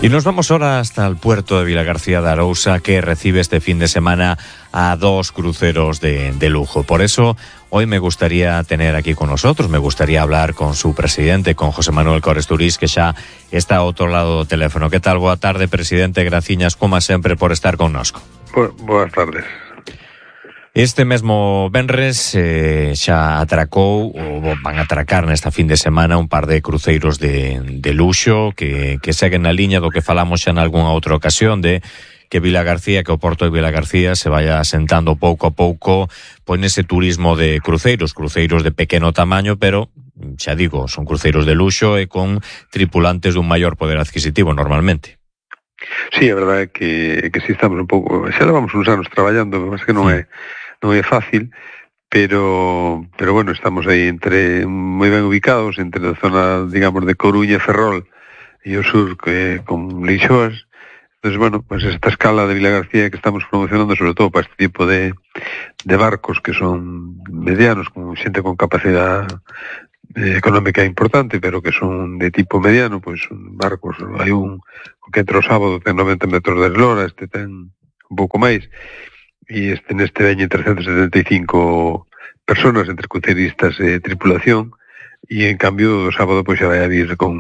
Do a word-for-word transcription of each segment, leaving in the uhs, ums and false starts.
Y nos vamos ahora hasta el puerto de Vilagarcía de Arousa, que recibe este fin de semana a dos cruceros de, de lujo. Por eso, hoy me gustaría tener aquí con nosotros, me gustaría hablar con su presidente, con José Manuel Cores Turís, que xa está ao outro lado do teléfono. Que tal? Boa tarde, presidente. Graciñas, como sempre, por estar connosco. Bo, boas tardes. Este mesmo venres eh, xa atracou, ou van a atracar nesta fin de semana un par de cruceiros de, de luxo que, que seguen na liña do que falamos xa en algunha outra ocasión de que Vilagarcía, que o porto de Vilagarcía se vaya asentando pouco a pouco pois nese turismo de cruceiros, cruceiros de pequeno tamaño, pero xa digo, son cruceiros de luxo e con tripulantes dun maior poder adquisitivo normalmente. Sí, a verdade é que, que si estamos un pouco, xa levamos uns anos traballando, mas que non é non é fácil, pero pero bueno, estamos aí entre moi ben ubicados entre a zona, digamos, de Coruña e Ferrol e o sur que con Leixoas. Entonces, bueno, pues esta escala de Vilagarcía que estamos promocionando sobre todo para este tipo de de barcos que son medianos, con xente con capacidade eh, económica importante, pero que son de tipo mediano, pois pues, barcos, hai un que entre o sábado ten noventa metros de eslora, este ten un pouco máis, e este neste veñen trescentas setenta e cinco personas entre cruceiristas e tripulación, e en cambio o sábado pois xa vai a vir con,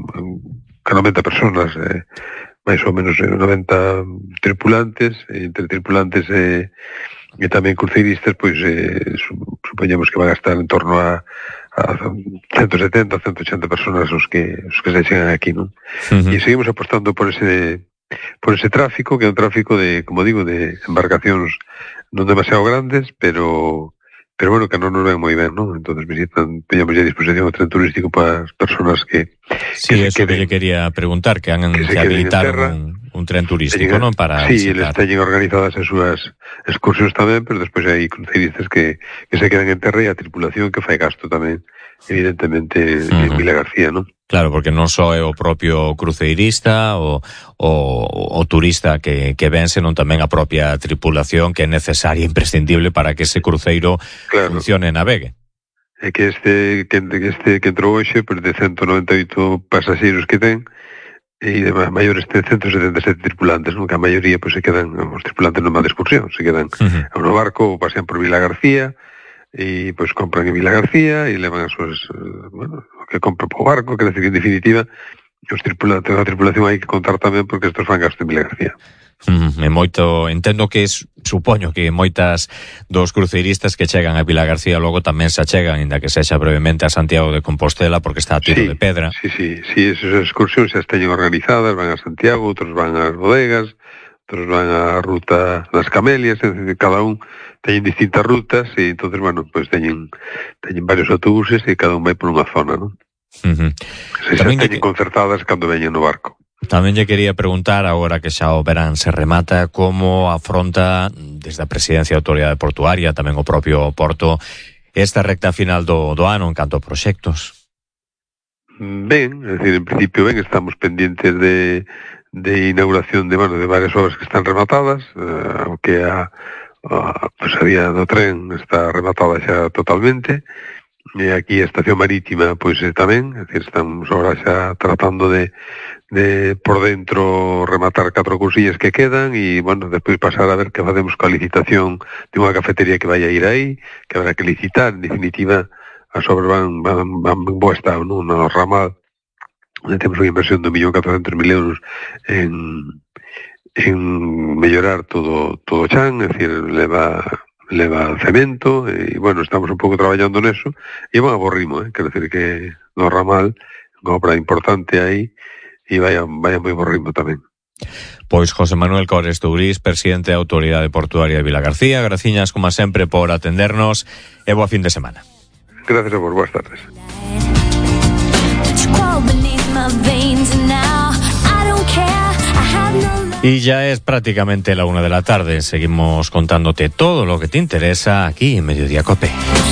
con noventa personas, eh, máis ou menos noventa tripulantes, entre tripulantes e, e tamén cruceiristas, pois eh, supoñemos que van a estar en torno a, a ciento setenta, ciento ochenta personas os que os que se chegan aquí, non? Uh-huh. E seguimos apostando por ese por ese tráfico, que é un tráfico de, como digo, de embarcacións non demasiado grandes, pero pero bueno, que non nos ven moi ben, non? Entonces visitan, teñamos ya a disposición o tren turístico para as personas que Sí, que eso queden, que lle quería preguntar, que han que, que habilitaron un, un tren turístico, non? Para sí, visitar. eles teñen organizadas as súas excursións tamén, pero despois hai cruceiristas que, que se quedan en terra e a tripulación que fai gasto tamén, evidentemente, uh-huh. en Vilagarcía, non? Claro, porque non só é o propio cruceirista o, o, o turista que, que ven, senón tamén a propia tripulación que é necesaria e imprescindible para que ese cruceiro claro. funcione e navegue. É que este que, este que entrou hoxe, pues, de ciento noventa e oito pasaxeiros que ten, e de maiores ten ciento setenta e sete tripulantes, non? Que a maioría pues, se quedan, os tripulantes non van de excursión, se quedan uh-huh. no barco ou pasean por Vilagarcía, e pois compran en Vilagarcía e levan as súas, bueno, que compran po barco, que decir que en definitiva os tripulantes, a tripulación hai que contar tamén porque estos fan gasto en Vilagarcía. Mm, e moito, entendo que es, supoño que moitas dos cruceiristas que chegan a Vilagarcía logo tamén se achegan, inda que sexa brevemente a Santiago de Compostela porque está a tiro sí, de pedra. Sí, sí, sí, esas excursións xa esteñen organizadas, van a Santiago, outros van ás bodegas, outros van á ruta das Camelias, é dicir, cada un teñen distintas rutas e entonces, bueno, pues teñen teñen varios autobuses e cada un vai por unha zona, non? Uh-huh. Se xa teñen que... concertadas cando veñen no barco. Tamén lle quería preguntar, agora que xa o verán se remata, como afronta desde a Presidencia da Autoridade Portuaria, tamén o propio Porto, esta recta final do, do ano en canto a proxectos? Ben, é dicir, en principio ben, estamos pendientes de, de inauguración de, bueno, de varias obras que están rematadas, eh, aunque a a pues, a vía do tren está rematada xa totalmente, e aquí a estación marítima pois pues, tamén, é dicir, estamos agora xa tratando de, de por dentro rematar catro cousillas que quedan e, bueno, despois pasar a ver que facemos coa licitación de unha cafetería que vai a ir aí, que habrá que licitar. En definitiva, as obras van, van, van en bo estado, non? No ramal, onde temos unha inversión de un millón catrocentos mil euros en en mellorar todo todo o chan, é dicir, leva leva cemento e, bueno, estamos un pouco traballando neso e van a bo ritmo, eh? Quer decir que no ramal unha obra importante aí e vaya, vaya moi bo ritmo tamén. Pois José Manuel Cores Turís, presidente da Autoridade Portuaria de Vilagarcía, graciñas como sempre por atendernos e boa fin de semana. Gracias a vos, boas tardes. Y ya es prácticamente la una de la tarde. Seguimos contándote todo lo que te interesa aquí en Mediodía Cope.